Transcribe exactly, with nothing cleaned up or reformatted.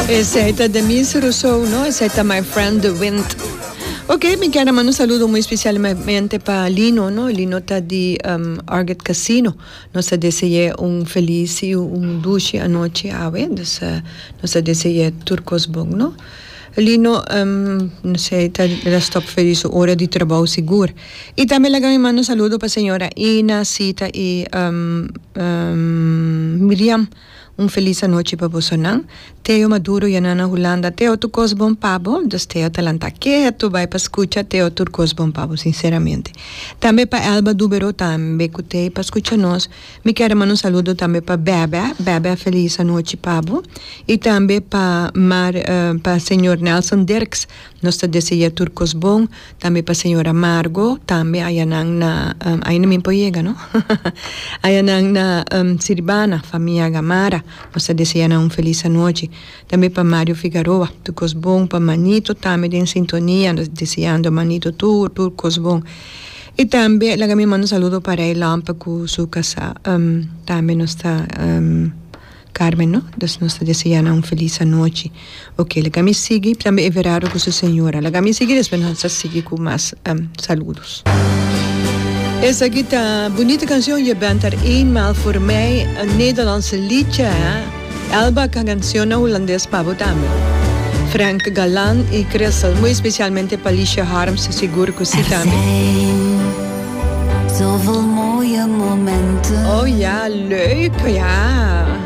Esey ta Demis Rousseau, no? Esey ta My Friend the Wind. Ok, mi kier manda un saludo muy especialmente pa Lino, no? Lino ta di um, Arget Casino. Nos ta desea un feliz y un dushi anochi awe. Dus uh, nos ta desea tur cos bon, no? Lino, um, no sé, ta la stop feliz ora di trabou sigur. Y tambe laga mi manda un saludo pa señora Ina, Sita y um, um, Miriam. Un feliz anochi pa bosonan. Teo Maduro ya na Hulanda. Teo, tur cos bon pa bo. Dus Teo ta lanta keto, bay pa scucha. Teo, tur cos bon pa bo, sinceramente. Tambe pa Elba Dubero, tambe cu t'ey pa scucha nos. Mi kier manda un saludo tambe pa Bebe. Bebe, feliz anochi pa bo. Y tambe pa Mar, uh, pa señor Nelson Dirks. Nos ta desea tur cos bon. Tambe pa señora Margo. Tambe ayanan na, um, ainda mi por yega, no? Ayanan na um, Siribana, famia Gamara. Nos ta desea un feliz anochi. Tambe pa Mario Figueroa, tur cos bon, pa Manito, tambe den sintonia, deseando Manito tur, tur cos bon. Y tambe, laga mi manda un saludo pa Ray Lampa cu su casa, um, tambe nos ta um, Carmen, no? Dus nos ta deseando un feliz anochi. Ok, laga mi sigui, tambe Everardo cu su señora. Laga mi sigui, despues nos ta sigui cu mas um, saludos. Esaki ta bunita cancion, Je bent er eenmaal voor mij, een Nederlandse liedje, hè? Elba cancion na Hulandes pa bo tambe. Frank Galan y Crystal, muy especialmente pa Alicia Harms, sigur cu si Er tambe. zijn zoveel mooie momenten. Oh ja, leuk, ja.